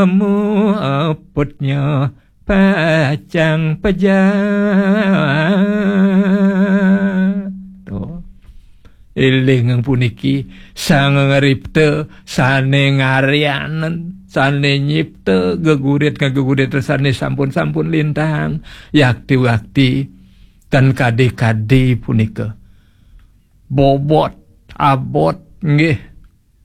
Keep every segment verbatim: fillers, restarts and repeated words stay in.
Temu eputnya pacang pejah. Tuh. Iling puniki, sang ngripta, sane ngaryanen, sane nyipta, gegurit ngegegurit sane sampun-sampun lintang, yakti-wakti, tan kadi-kadi punika. Bobot, abot, nggih,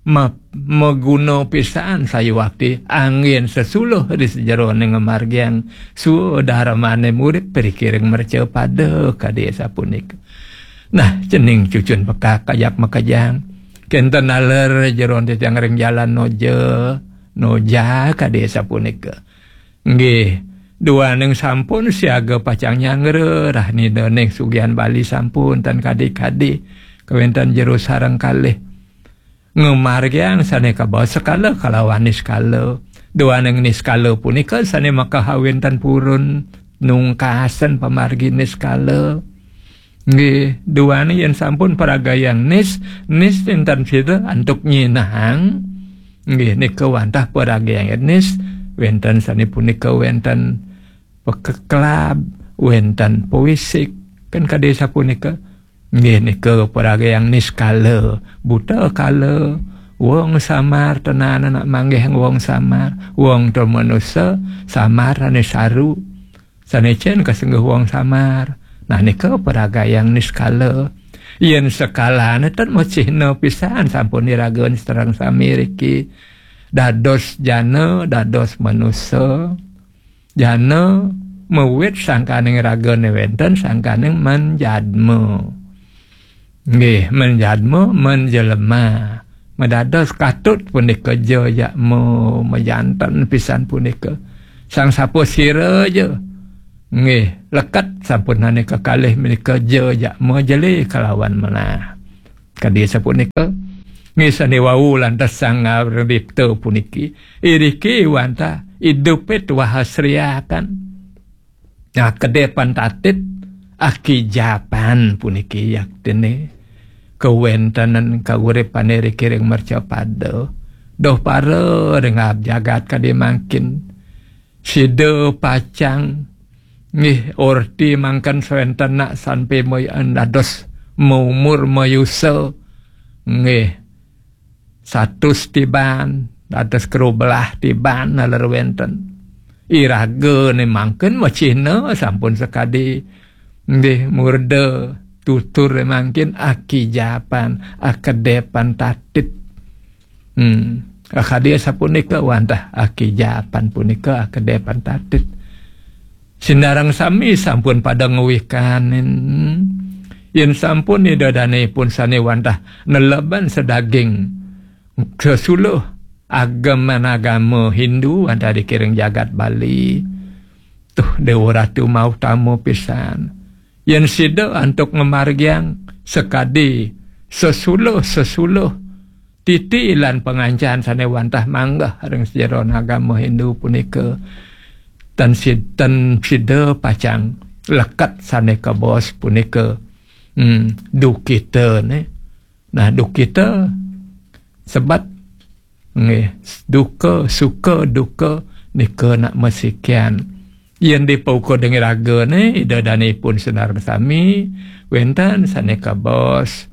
ma-, maguna pisan sayuwakti anggen sesuluh ri sajeroning ngamargiang swadarmane murid ri kiring mercapada kadi sapunika. Nah, cening cucun pekak kajak makejang. Kenten naler jeron titiang ring jalan noja, noja kadi sapunika. Nggih, duaning sampun siaga pacang nyangra, rahinaning sugihan Bali sampun tan kadi-kadi kawenten jero sareng kalih. Ngamargiang sane kabaos sekala kalawan niskala. Duaning niskala punika sane makahawintan purun nungkasen pamargi niskala. Nggih, duaning yen sampun paragayang nis, nis wenten sira antuk nyinahang. Nggih, nika wantah paragayang nis, wenten sane punika wenten pekeklab, wenten puisik, kan kadi sapunika. Nggih, nika paragayang niskala, buta kala, wong samar tenan anak manggih wong samar, wong to manusa, samar ane saru. Sane cen kasengguh wong samar. Nah, nika paragayang niskala. Yen sekalane ten macihna pisan sampun iraga sareng sami riki. Dados jana, dados manusa. Jana mawit sangkaning ragane wenten sangkaning manjadma. Nggih, manjadma, manjelema. Madados katut punika ja jakma, majanten pisan punika. Sang sapa sira ja. Nggih, leket sampunane kekalih menika ja jakma jele kalawan melah. Kadi sapunika, nggih sane wau lantas sang ngawripta puniki, iriki wantah idupit wahasriakan. Nah, kedepan tatit, akijapan puniki yaktine kawentenan kauripane ri kiring mercapada. Doh para ring jagat kadi mangkin. Sida pacang nggih orti mangken sawenten nak sampe moyan dados maumur mayusa. Nggih. Satus tiban, dados kru belah tiban naler wenten. Iragane mangken macihna sampun sakadi nggih murda tutur mangkin akijapan, akedepan tatit. Hmm. Akadi sapunika wantah akijapan punika akedepan tatit. Sinareng sami sampun pada ngwikanin. Yen sampun ida danepun sane wantah neleban sedaging sesuluh ageman agama Hindu wantah dikiring jagat Bali. Tuh, Dewa Ratu mautama pisan. Yen sida antuk ngamargiang sakadi sesuluh-sesuluh titi lan pangancan sane wantah manggeh ring sajeroning agama Hindu punika, tan sid-, tan sida pacang leket sane kabaos punika, hmm, dukita ne. Nah, dukita sebat nggih, duka, suka, duka nika nak masikian. Yen dipaukud dengan ragane, ida danipun sinareng sami, wenten sane kabaos,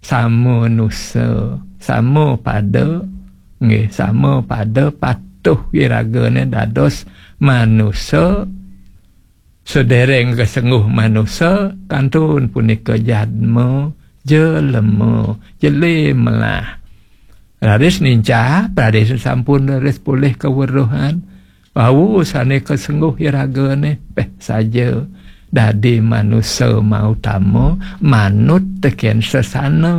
sama nusa, sama pada, nggih, sama pada patuh iragane dados manusa, sedereng kasengguh manusa, kantun punika jadma, jelema, jeli melah. Raris nincap, raris sampun raris polih kaweruhan. Wau sane kasengguh iragane, peh saja. Dadi manusa mautama, manut teken sesana.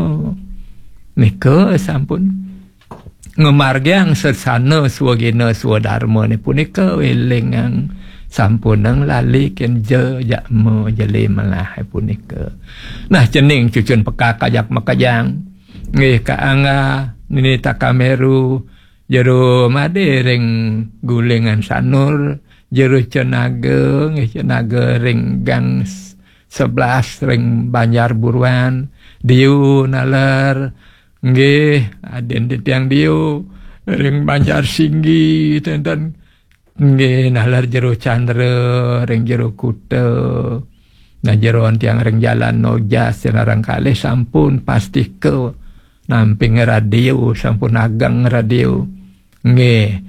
Nika sampun ngamargiang sesana swagina swadarmane punika welingang sampunang lali ken ja jakma jeli melah punika. Nah, cening cucun pekak ajak makejang. Nggih, Ka Angga, Nini Takameru, Jero Made ring Gulingan Sanur, Jero Cenaga, nggih, Cenaga ring Gang s-, sebelas ring Banjar Buruan, Diu naler, nggih, adin titiang Diu, ring Banjar Singgi, tenten nggih, naler jero Candra ring jero kuta. Nah, jeroan tiang ring Jalan Nojas, sinareng kalih sampun pastika namping radio, sampun ageng radio. Nggih,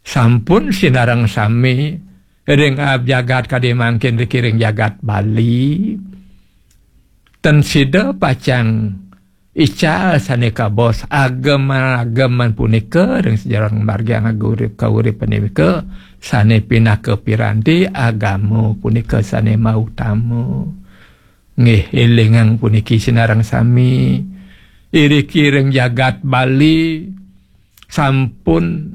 sampun sinareng sami ring aab jagat kadi mangkin riki ring jagat Bali. Ten sida pacang ical sane kabaos agem-ageman punika ring sajeroning margiang urip kauripan nika sane pinaka piranti agama punika sane mautama. Nggih, elingang puniki sinareng sami. Iriki ring jagat Bali sampun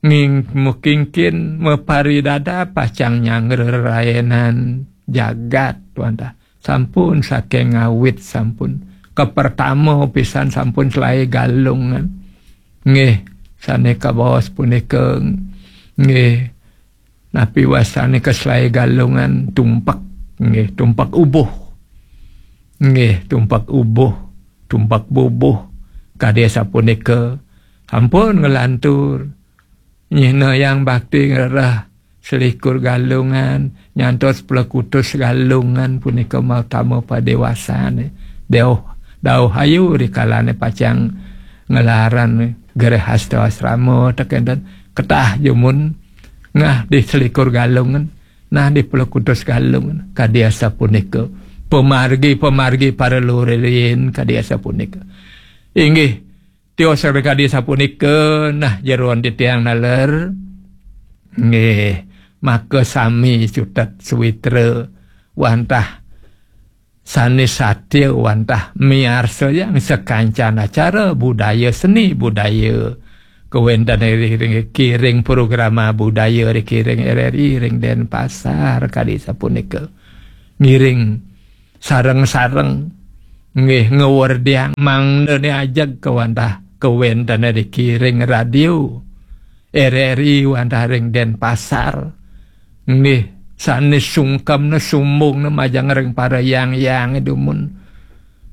nging-, mukingkin maparidada pacang nyanggra raenan jagat, wantah. Sampun saking ngawit sampun. Kapertama pisan sampun selae Galungan. Nggih, sane kabaos punika nggih, napi wasane ka selae Galungan, tumpek. Nggih, tumpek ubuh. Nggih, tumpek ubuh, tumpek bubuh. Kadi sapunika sampun nglantur. Nyinayang bakti ngrereh selikur Galungan, nyantos plekutus Galungan punika mautama padewasane. Dauh, dauh ayu rikalane pacang nglaran grehasta asrama teken ten ketah jumun ngah di selikur Galungan, nah di plekutus Galungan. Kadi asapunika pamargi-pamargi para lurin kadi asapunika. Inggih, tios kadi sapunika, nah, jeroan titiang naler. Nggih, maka sami cutet sawitra wantah sane satia wantah miarsayang sakancan acara budaya seni budaya kawenten ring, ring, kiring programa budaya ring kiring R R I ring Denpasar kadi sapunika. Ngiring sareng-sareng nggih ngawerdiang mangdane ajeg kawantah kawenten riki ring radio R R I wantah ring Denpasar. Nggih, sane sungkemne sumbungne majeng ring para yang-yang dumun.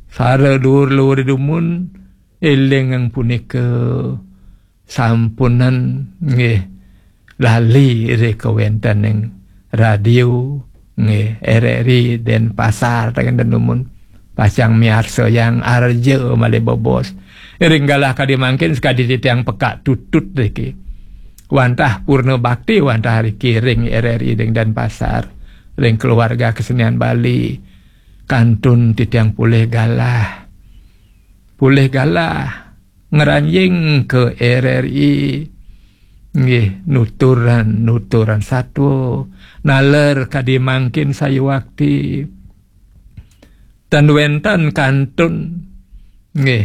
Para luhur-luhur dumun, eling punika sampunan nggih lali ri kawentening radio nggih R R I Denpasar, teken dumun pacang miarsayang arja malih bebos. Ring galah kadi mangkin sakadi titiang pekak tutut riki. Wantah purna bakti wantah riki ring R R I ring Denpasar, ring keluarga kesenian Bali. Kantun titiang polih galah. Polih galah ngranjing ke R R I. Nggih, nuturan, nuturan satwa. Naler kadi mangkin sayuwakti. Ten wenten kantun. Nggih,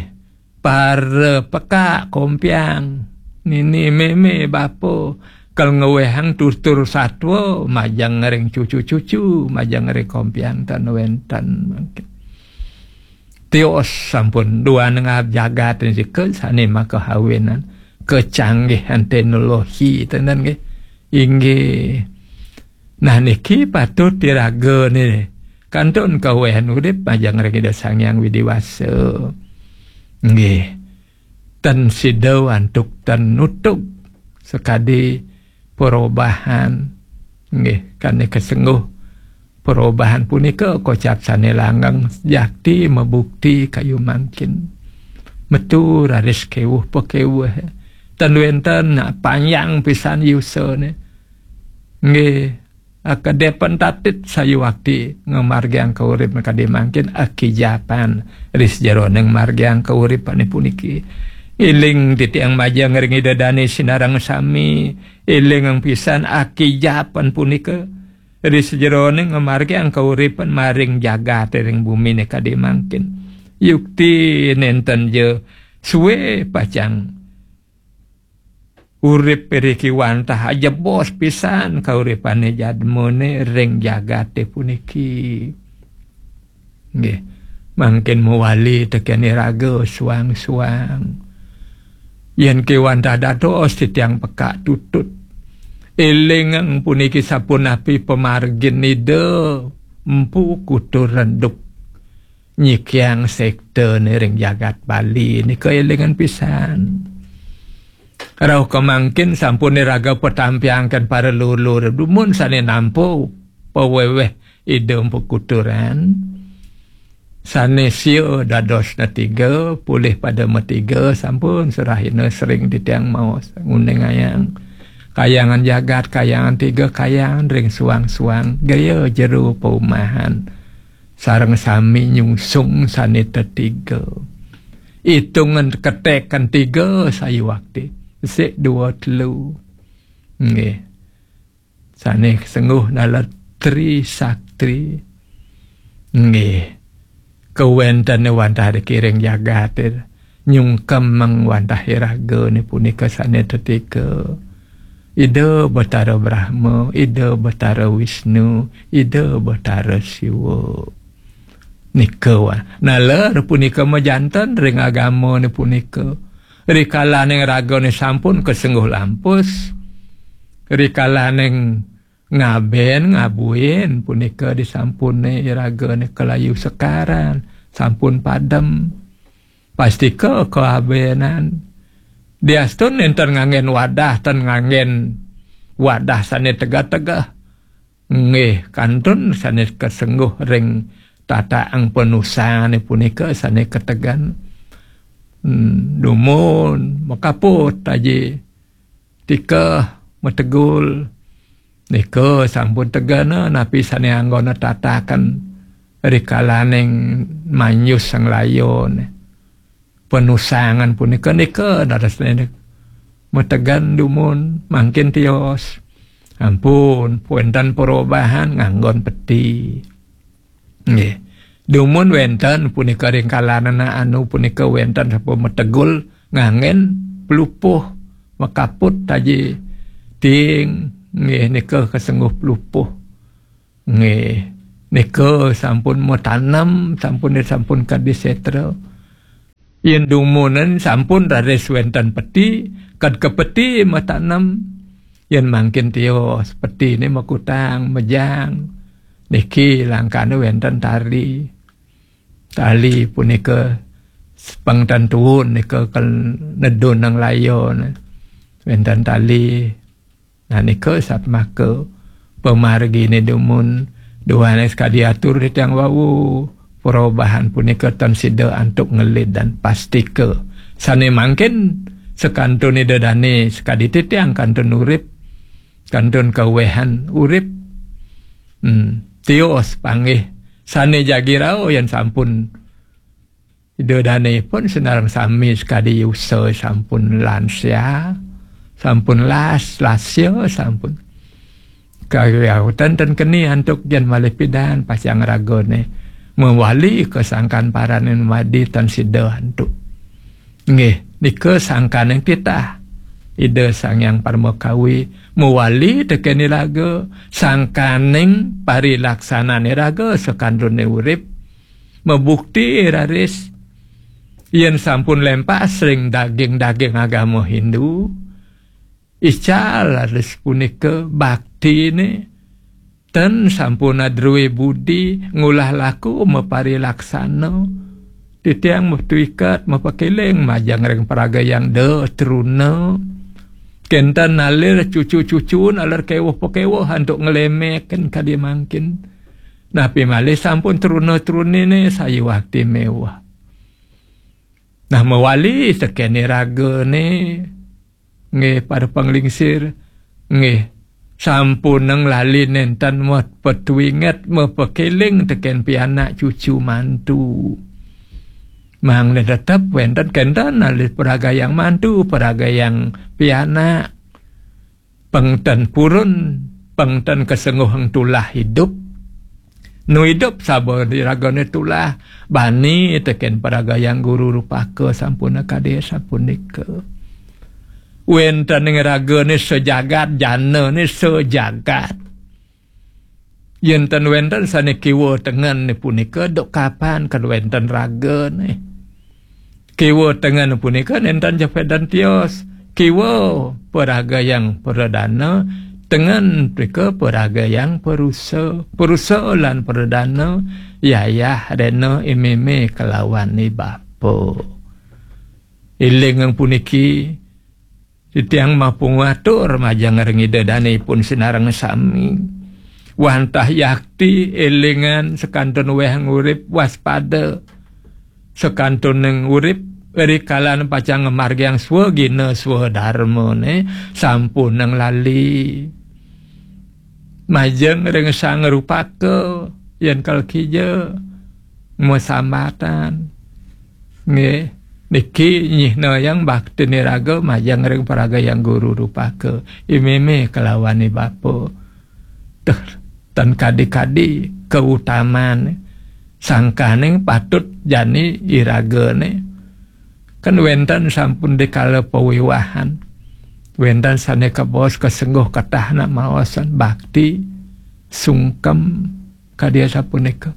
para pekak kompiang. Nini meme bapa kal ngwehang tutur satwa majeng ring cucu-cucu, majeng ring kompiang ten wenten mangkin. Tios sampun duaneng jagat nika sane makahawinan kecanggihan teknologi tenen nggih. Inggih. Nah niki patut iraga ne kantun kawehan urip majeng ring Ida Sang Hyang Widi Wasa. Nggih. Ten sida antuk ten nutug sakadi perubahan. Nggih, kane kasengguh perubahan punika kocap sane langgeng jakti mabukti kayu mangkin. Metu raris kewuh pakewuh. Ten wenten nak panjang pisan yusane. Nggih, akadepen tatit sayuwakti ngamargiang kaurip kadi mangkin akijapan ris jeroning margiang kauripane puniki. Iling titiang majeng ring Ida Dane sinareng sami, iling pisan akijapan punika ri sajeroning ngamargiang kauripan maring jagate ring bumine kadi mangkin. Yukti nenten ja suwe pacang urip iriki wantah ajebos pisan kauripane jadmane ring jagate puniki. Nggih, mangkin mawali teken iraga suang-suang. Yen kewantah dados titiang pekak tutut. Eling puniki sapunapi pamargin Ida Empu Kutu Reduk nyikiang sektene ring jagat Bali nika elingan pisan. Rauh kemangkin sampun iraga petampiangken para lulur dumun sane nampa paweweh Ida Empu Kuturan. Sane sia dadosna tiga, polih pada matiga, sampun serahina sering titiang maos nguningayang. Kayangan jagat, kayangan tiga, kayangan ring suang-suang, gaya jero paumahan. Sareng sami nyungsung sane tetiga. Itungan ketekan tiga sayuwakti. Sik dua telu. Nggih. Sane sengguh naler Tri Sakti. Nggih. Kawentene wantah dikiring jagate nyungkemang wantah iragane punika sane tetika. Ida Betara Brahma, Ida Betara Wisnu, Ida Betara Siwa. Nika wa-, naler punika majanten ring agamane punika. Rikalaning ragane sampun kasengguh lampus. Rikalaning ngaben, ngabuin punika disampune iragane kalayu sekaran, sampun padem. Pastika kaabenan. Diastun nenten nganggen wadah, ten nganggen wadah sane tegeh-tegeh. Nggih, kantun sane kasengguh ring tataang panusane punika sane kategan. Hmm, dumun, makaput aji. Tikeh, mategul. Nika sampun tegena napi sane anggona tataken rikalaning manjus sang layone. Panusangan punika nika dados nika. Mategen dumun mangkin tios. Ampun, wenten perubahan nganggon peti. Nggih. Dumun wenten punika ring kalanana anu punika wenten sampun mategul nganggen pelupuh, makaput taji ting, nggih, nika kasengguh pelupuh. Nggih. Nika sampun matanem, sampun sampun kadi setra. Yen dumunan sampun raris wenten peti, kad ka peti matanem. Yen mangkin tios, petine makutang, mejang. Niki langkane wenten tali. Tali punika pengten tuun nika kel nedun nang layon. Wenten tali. Nah, nika satmaka pamargine dumun duane sakadi atur titiang wau. Perubahan punika tan sida antuk ngelid dan pastika. Sane mangkin sakantun Ida Dane sakadi titiang kantun urip, kantun kawehan urip. Hmm, tios panggih sane jagi rauh yen sampun Ida Dane pun sinareng sami sakadi yusa sampun lansia, sampun las, lasya sampun. Kawiyautan ten keni antuk yen malih pidan pacang ragane mawali ka sangkan parane madi tan sida antuk. Nggih, nika sangkaning titah Ida Sang Hyang Parmakawi mawali teken iraga, sangkaning parilaksanane iraga sakantune urip, mabukti raris yen sampun lempas ring daging-daging agama Hindu, ical raris punika baktine ten sampun adruwe budi ngulah laku maparilaksana. Titiang metu iket mapakeling majeng ring paragayang da truna. Kenten nalir cucu-cucu nalir kewuh pakewuh antuk ngelemekin kadi mangkin. Napi malih sampun truna-trunine sayuwakti mewah. Nah, mawali tekene ragane, nggih, para panglingsir, nggih, sampunang lali nenten mot petuinget mapakeling teken pianak cucu mantu. Mangda tetep wenten kenten alit paragayang mantu, paragayang pianak. Pengten purun, pengten kasengguhang tulah idup. Nu idup saba diragane tulah, bani teken paragayang guru rupaka sampun kade sapunika. Wenten ing ragane sajagat, janane sajagat. Yen ten wenten sane kiwa tengen punika, duk kapan kan wenten ragane? Kiwa tengen punika nenten jepedan tios. Kiwa paragayang pradana, tengen punika paragayang parusa. Parusa lan pradana, yayah rena imeme kalawan ibapa. Ilingang puniki, Titiang mapungatur majeng ring Ida Dane ipun sinareng sami. Wantah yakti, elingan, sekantun weh ngurip, waspada. Sekantuning urip, rikalan pacang ngamargiang swagina swadarmane, sampunang lali. Majeng ring Sang Rupaka, yen kalkija, masambatan. Nggih, niki nyihnayang baktin iraga majeng ring Paraga Hyang Guru Rupaka. I meme kalawan i bapa. Tuh, tan kadi-kadi kautaman sangkaning patut jani iragane. Kan wenten sampun dikala pawiwahan. Wenten sane kabaos kasengguh ketah nak maosan bakti, sungkem, kadi asapunika.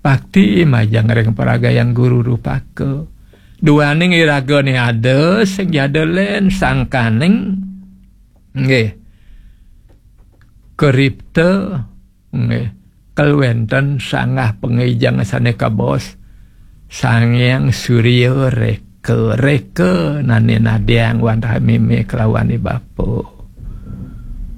Bakti majeng ring Paraga Hyang Guru Rupaka. Duaning iragane ada sing jada len sangkaning, nggih, karipta, nggih, kal wenten sanggah pangijeng sane kabaos Sang Hyang Surya Reka, Reka nane nadiang wantah meme kalawan i bapa.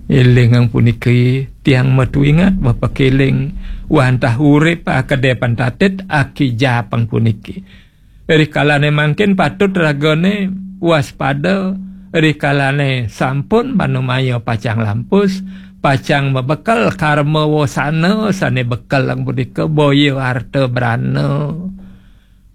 Elingang puniki, tiang matuingat mapakeling wantah urip akede pantatit akija pang puniki. Rikalane mangkin patut ragane waspada, rikalane sampun manumaya pacang lampus, pacang mabekel karma wasana sane bekel lang punika, boya arta brana,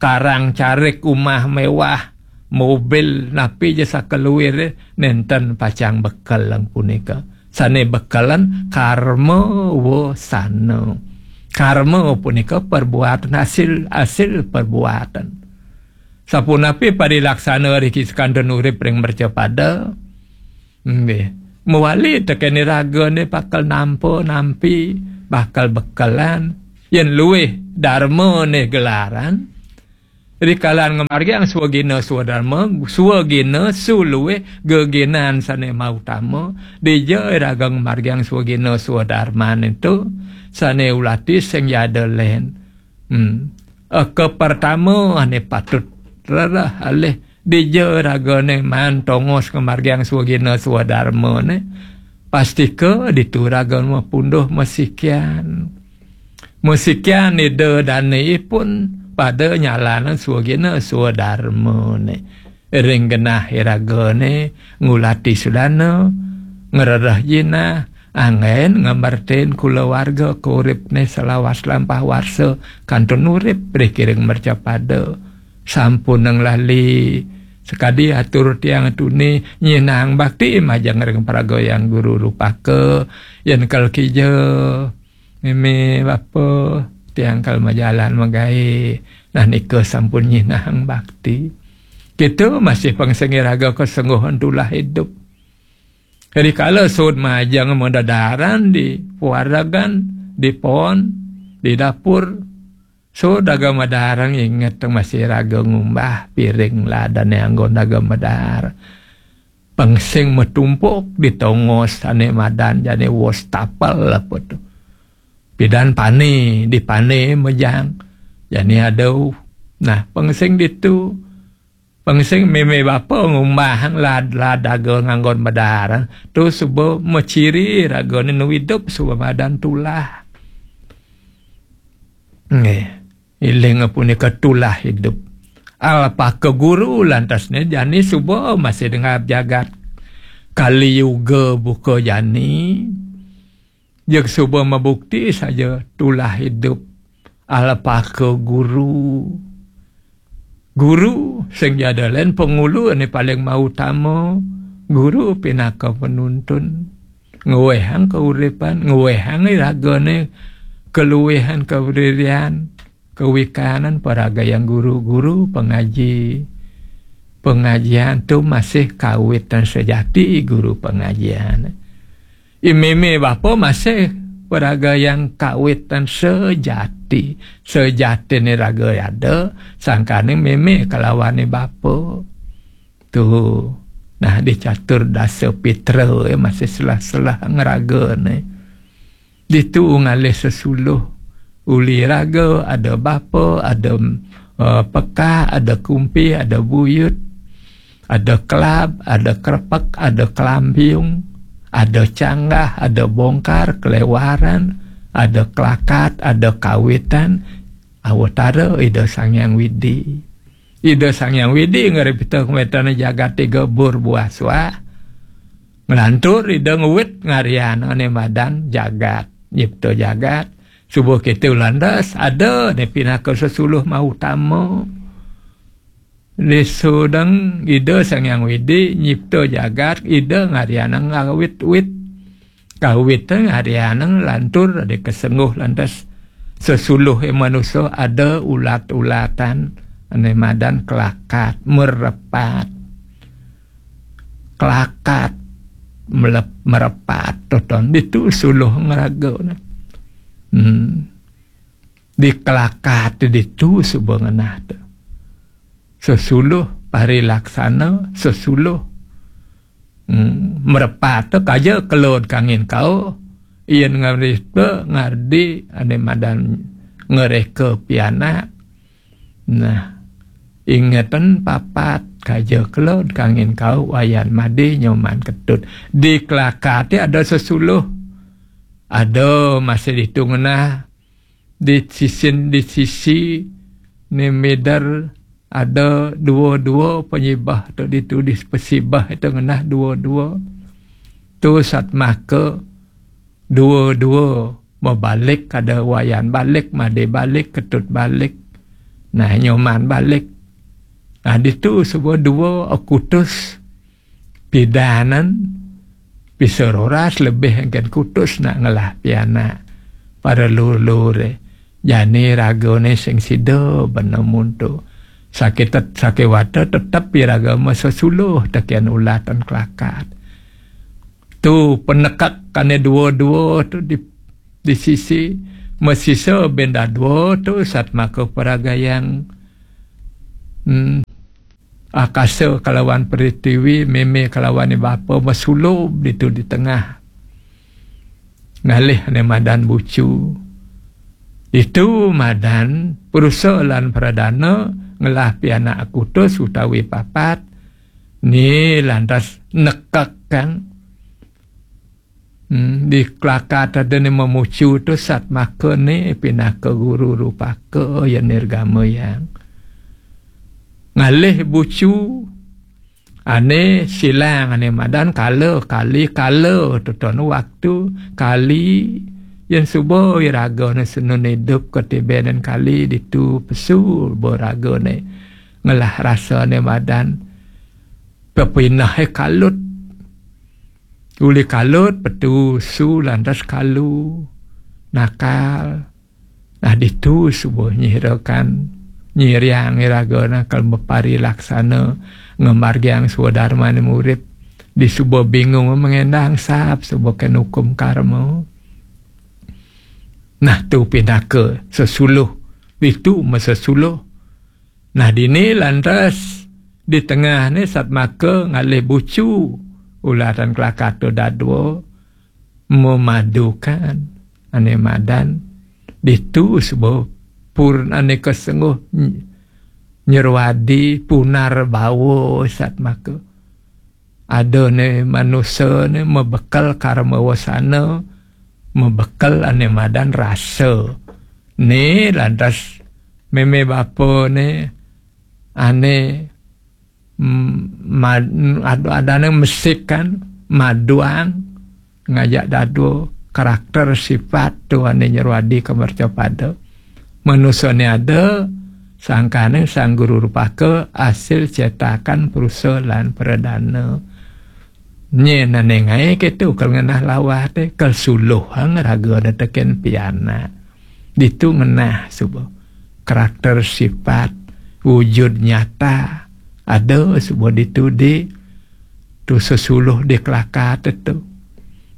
karang carik, umah mewah, mobil, napi ja sakaluire nenten pacang bekel lang punika. Sane bekelan karma wasana. Karma punika perbuatan, hasil, hasil perbuatan. Sapunapi parilaksana riki sekantun urip ring mercapada, nggih, mawali teken iragane bakal nampa nampi, bakal bekelan. Yen luih darmane gelaran, rikalan ngamargiang swagina swadarma, swagina suluih geginan sane mautama, dija iraga ngamargiang swagina swadarmane tu, sane ulati sing jada len. Hmm. Eka pertama ane patut rereh alih, dija ragane maan tongos ngamargiang swagina swadarmane, pastika ditu raga mapunduh masikian. Masikian Ida Dane ipun pada nyalanan swagina swadarmane. Ring genah iragane ngulati sudana, ngrereh jinah, anggen ngamertin kulawarga kauripne salawas lampah warsa kantun urip ring kiring mercapada. Sampunang lali, sakadi atur tiang tuni, nyinahang bakti majeng ring Paraga Hyang Guru Rupaka, yen kal kija, meme bapa, tiang kal majalan magae. Nah, nika sampun nyinahang bakti. Kita masih pang sing iraga kasengguhan tulah idup. Rikala suud majeng madadaran di pawaregan, di pon, di dapur, suud raga madaran, inget masih raga ngumbah piring ladane anggon raga madar. Pang sing matumpuk di tongos ane madan jane wastafel apa tu. Pidan pane, di pane mejang. Jani adau. Nah, pang sing ditu. Pang sing meme bapa ngumbahang lad-, lad raga nganggon madaran. Tu suba maciri ragane nu idup suba madan tulah. Nggih. Iling punika tulah idup. Alpaka guru lantasne jani suba masih dengab jagat. Kali Yuga buka jani. Jeg suba mabukti saja tulah idup. Alpaka guru. Guru sing jada len pangulu ane paling mautama. Guru pinaka penuntun. Ngwehang kauripan, ngwehang iragane kaluihan, kabririan, kawikanan. Paraga Hyang Guru, guru pangaji. Pangajian tu masih kawitan sejati guru pangajian. I meme bapa masih Paraga Hyang kawitan sejati. Sejatine raga ada, sangkane meme kalawane bapa. Tu, nah, di catur dasa pitra, eh, masih selah-selah ngeragane. Ditu ngalih sesuluh. Uli raga, ada bapa, ada, eh, pekak, ada kumpi, ada buyut. Ada kelab, ada kerepek, ada kelambiung, ada canggah, ada bongkar, kelewaran, ada kelakat, ada kawitan. Awatara Ida Sang Hyang Widi. Ida Sang Hyang Widi ngripta kawéntenan jagat tiga bur buah suah. Nglantur Ida ngwit ngaryan ané madan jagat, nyipta jagat. Suba kéto lantas ada né pinaka sesuluh mautama. Lisudeng Ida Sang Hyang Widi nyipta jagat, Ida ngaryanang ngawit-wit. Kawit ngaryanang lantur ada kasengguh lantas sesuluh manusa ada ulat-ulatan ané madan kelakat, merepat. Kelakat, melep-, merepat, toton ditu suluh ngraga. Hmm. Di kelakat ditu suba ngenah tu. Sesuluh parilaksana, sesuluh, hmm, merepat tu kaja kelod kangin kau, yén ngardi, ngardi ané madan ngereka pianak. Nah, ingeten papat kaja kelod kangin kau, Wayan Madi Nyoman Ketut. Di kelakat ada sesuluh. Ada masih ditu ngenah di sisin, di sisi né mider ada dua-dua panyibah tu ditu di pasibah itu ngenah dua-dua. Tu satmaka dua-dua mabalik, ada Wayan balik, Madi balik, Ketut balik. Nah, Nyoman balik. Nah, ditu suba dua akutus pidanan, pisaroras lebih engken kutus nak ngelah pianak. Para lur-luré, jani ragané sing sida benemun tu. Sakitet-, sakéwata tetep iraga masesuluh tekén ulatan kelakat. Tu penekek ané dua-dua tu di, di sisi, masisa benda dua tu satmaka paragayang. Hmm. Akasa kalawan pritiwi, mémé kalawan bapa masulub ditu di tengah. Ngalih ané madan bucu. Ditu madan Prusa lan Pradana ngelah pianak akutus utawi papat, né lantas nekekang. Hmm, di kelakat ada né mamucu tu satmaka né pinaka guru rupaka ya nirgama yang. Ngalih bucu ané silang ané madan kala kali kala toton waktu kali yén suba iraga né senun idup katibenen kali ditu pesu ba raga né ngelah rasa ané madan pepineh kalut. Uli kalut, petu su lantas kalu, nakal. Nah, ditu suba nyirakan, nyiriang iraga nakal bepari laksana, ngemargiang swadarmané murid. Di suba bingung mengendang sap, suba ken hukum karma. Nah, tu pinaka sesuluh, ditu masesuluh. Nah, dini lantas di tengah ni satmaka ngalih bucu ulatan kelakatu dadua memadukan ané madan ditu suba purun ané kesengguh ny-, nyerwadi punar bawa satmaka. Ada né manusa né mabekel karma wasana, mabekel ané madan rasa. Né lantas mémé bapa né ané, mm, mad-, ada, adané mesikan, maduang, ngajak dadua karakter sifat tu ané nyerwadi ka mercapada. Manusa né ada, sangkané sang guru rupaka, asil cetakan Prusa lan Pradana. Nyén ané ngaé kéto kal ngenah lawah té, kal suluhang raga ada tekén pianak. Ditu ngenah suba. Karakter sifat, wujud nyata, ada suba ditu di tu sesuluh di kelakat tu.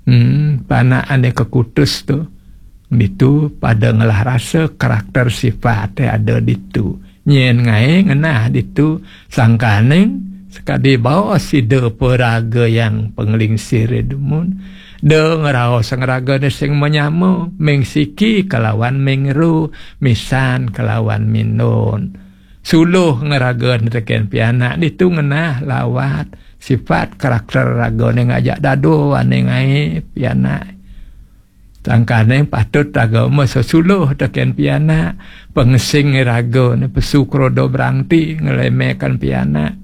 Hmm, panak ané kekutus tu. Ditu pada ngelah rasa karakter sifat ada ditu. Nyén ngaé ngenah ditu sangkaning sekadi baos sida paraga yang panglingsir dumun. Da ngraos ngragané sing manyama, ming siki kalawan ming ru, misan kalawan minun. suluh ngeragané tekén pianak, ditu ngenah lawat sifat karakter ragané ngajak dado ané ngaé pianak. Sangkané patut raga mesesuluh tekén pianak, pengesing ragané pesu krodo berangti ngelemekan pianak.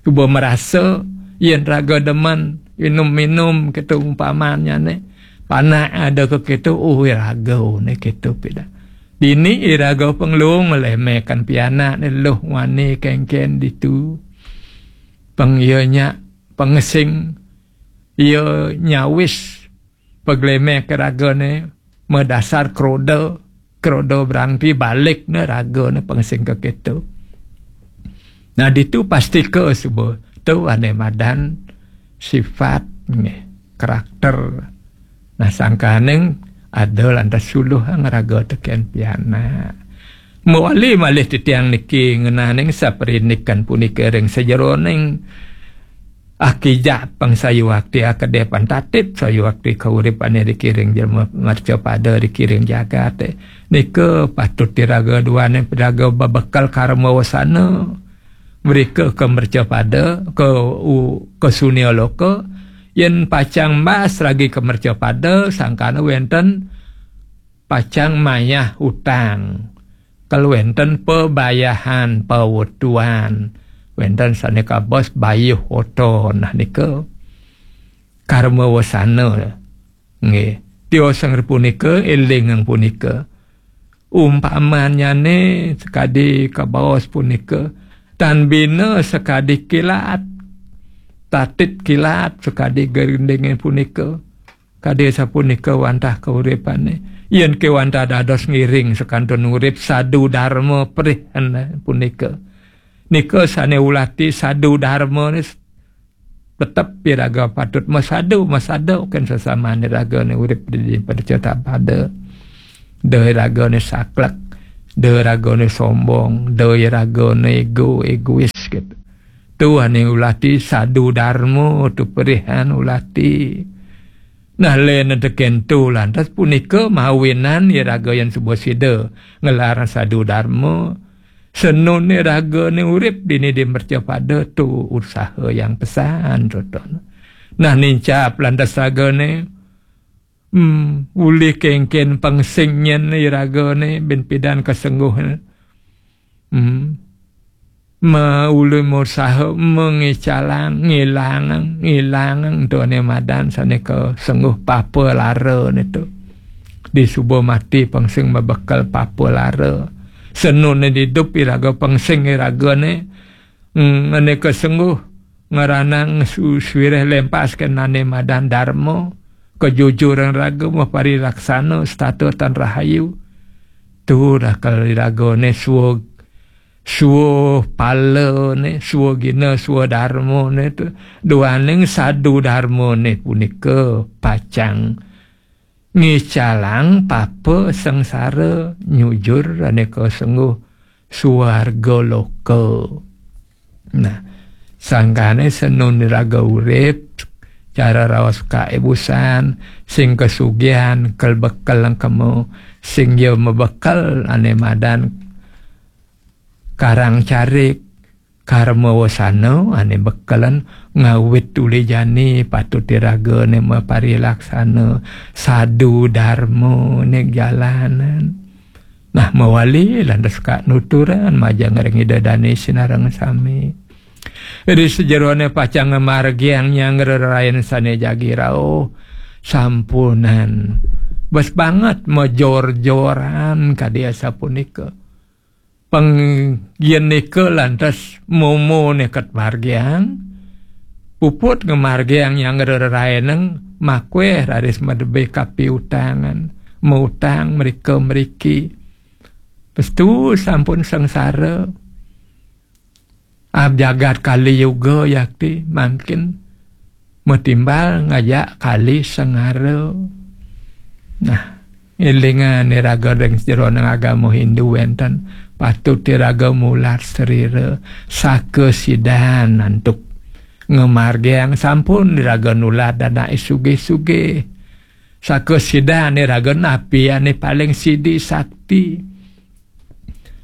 Suba merasa yén raga demen minum-minum, kéto umpamanyané. Panak ada ka kéto, oh, iraga né kéto pida. Dini iraga pengelung ngelemekan pianak né, luh wani kéngkén ditu. Pang iya nyak pengesing, iya nyawis paglemek ragané madasar kroda, kroda berangti balik né ragané pengesing ka kéto. Nah, ditu pastika suba tu ané madan sifat nggih, karakter. Nah, sangkaning ada lantas suluh ngraga tekén pianak. Mawali malih titiang niki ngenaning saprinikan punika ring sajeroning akijak pang sayuakti akedepan tatit sayuakti kauripané dikiring jelema mercapada dikiring jagaté. Nika patut iraga duaning piraga bebekel karma wasana. Mrika ka mercapada, ka u-, ka sunia loka, yén pacang mbas ragi ka mercapada, sangkana wénten pacang mayah utang. Kal wénten pabayahan pawetuan. Wénten sané kabaos bayuh oto. Nah, nika karma wasana. Nggih. Tiosang punika, élingang punika. Umpamanyané sakadi kabaos punika, tan bina sakadi kilat. Tatit kilat sakadi gerindingé punika. Kadi sapunika wantah kauripané. Yén ké wantah dados ngiring sakantun urip sadu darma perihan punika. Nika sané ulati sadu darma ni tetep iraga patut masadu, masadu kén sesamané ragané urip di, di mercapada. Da ragané saklek, da ragané sombong, da ragané ego, egois gitu. Tu ané ulati sadu darma, tu perihan ulati. Nah, lén tekén tu lantas punika mawinan iraga yén suba sida ngelar sadu darma. Senun ragané urip dini di mercapada tu usaha yang pesan, toton. Nah, nincap lantas ragané, hmm, uli kéngkén pangsing nyén ragané bin pidan kasengguh. Hmm. Ma uli musaha mengicalang, ngilangang, ngilangang tu ané madan sané kasengguh papa lara né tu. Di suba mati pangsing mabekel papa lara. Senun né didup iraga pangsing iragané, mm, ané kasengguh ngranang su-, suireh lempas kén ané madan darma, kejujuran raga maparilaksana setata tan rahayu. Tu dah kal iragané sua, sua pala né, sua gina, sua darma né tu. Duaning sadu darma né punika pacang ngicalang papa sengsara nyujur ané kasengguh suarga loka. Nah, sangkané senun raga urip, cara raos kaibusan, sing kasugihan, kel bekel kemu, sing ya mabekel ané madan karang carik, karma wasana ané bekelan ngawit uli jani patut iraga né maparilaksana sadu darma né jalanan. Nah, mawali lantas ka nuturan majeng ring Ida Dané sinareng sami. Ri sajeroné pacang ngamargiang nyanggra rerayan sané jagi rauh sampunan. Bes banget major-joran kadi asapunika. Pang yén nika lantas momo neket margiang, puput ngamargiang nyanggra rerayanang makwéh raris madebé kapiutangan, mautang mrika mriki. Pestu sampun sengsara. Ab jagat Kali Yuga yakti mangkin matimbal ngajak Kali Sengara. Nah, élingang iraga ring sajeroning agama Hindu wénten patut iraga mulat sarira sakasidan antuk ngamargiang sampun iraga nulat anaké sugih-sugih. Sakasidan iraga napi ané paling sidi sakti.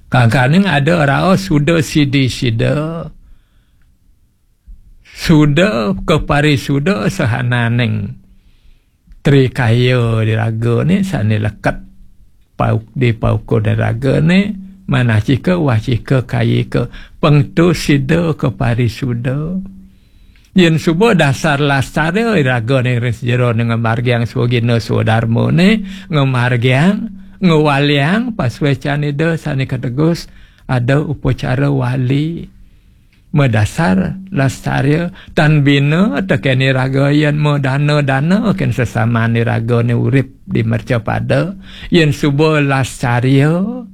Kadang-kadang ada raos suda sidi sida, suda kaparisuda sahananing trikaya di ragané sané leket pauk di paukuné ragané, manacika, wacika, kayika, pang tu sida kaparisuda. Yén suba dasar lascarya ragané ring sajeroné ngamargiang swagina swadarmané, ngamargiang, ngwaliang pasuécan Ida sané kategus, ada upacara wali. Madasar lascarya, tan bina tekén iraga yén madana-dana kén sesaman iragané urip di mercapada, yén suba lascarya,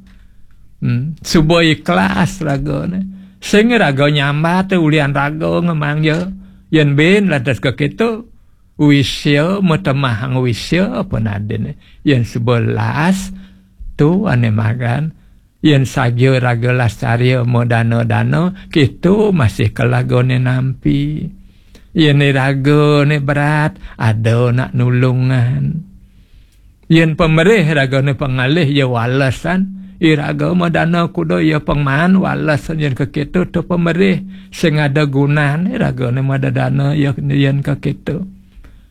hmm, suba ikhlas ragané. Sing raga nyambat ulian raga ngamangja. Yén bin lantas kakéto, wisya, matemahang wisya apa nadin. Yén suba las, tu ané magan. Yén saja raga lascarya madana-dana, kéto masih kalagané nampi. Yén iragané berat, ada nak nulungan. Yén pamerih ragané pangalih ya walesan, iraga madana kuda ya pangman walesan yén kakéto tu pamerih sing ada gunan ragané madadana ya yén kakéto.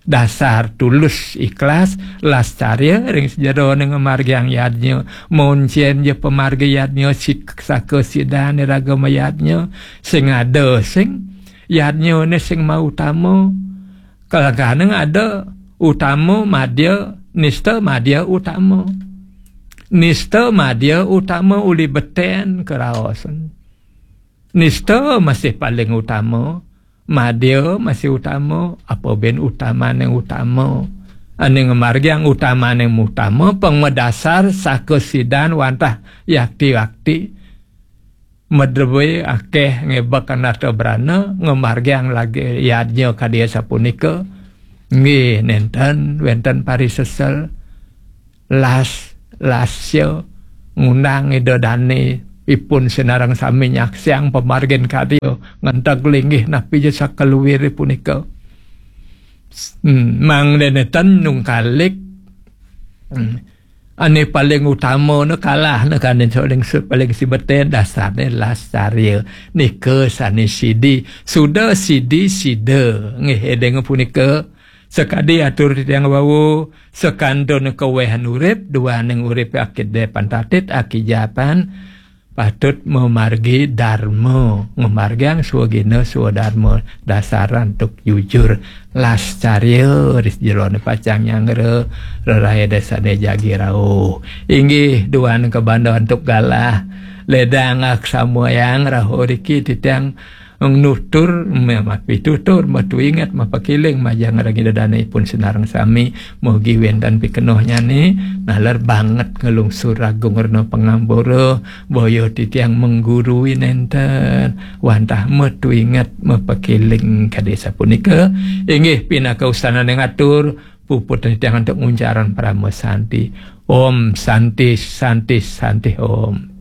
Dasar tulus ikhlas lascarya ring sajeroné ngamargiang yadnya, moncén ja pamargi yadnya sik-, saka sidané raga mayadnya, sing ada sing yadnyané sing mautama. Kalagana ada utama, madya, nista, madya, utama. Nista, madya, utama uli beten karaosan. Nista masih paling utama, madya masih utama, apa bin utamaning utama. Ané ngamargiang utamaning utama, pang madasar saka sidan wantah yakti-yakti. Madrebé akéh ngébek anarta brana, ngamargiang lagi yadnya kadi sapunika. Nggih, nénten wénten parisesel, las, lasya, ngundang Ida Dané, ipun sinareng sami nyaksiang pamargin karya, ngenteg linggih napi ja sakaluwiré punika. Hmm, mangda nénten nungkalik. Hmm. Ané paling utama né kalah né kan, paling su-, paling sibeten dasarné lascarya. Nika sané sidi, suda sidi sida. Nggih, éling punika. Sakadi atur titiang wau, sakantun kawéhan urip, duaning urip akidé pantatit, akijapan, patut mamargi darma, ngamargiang swagina swadarma, dasar antuk jujur, lascarya ring sajeroné pacang nyanggra, rerahina sané jagi rauh. Inggih, duaning kabanda antuk galah, ledang aksamayang rauh riki titiang nutur, ma-, mapitutur, matuinget, mapakiling, majeng ring Ida Dané ipun sinareng sami, mugi wénten pikenohnyané, naler banget nglungsur agung rena pangapura, boya titiang menggurui nénten, wantah matuinget, mapakiling kadi sapunika. Inggih pinaka wastananing atur, puput titiang antuk nguncarang parama santi. Om Santi, Santi, Santi Om.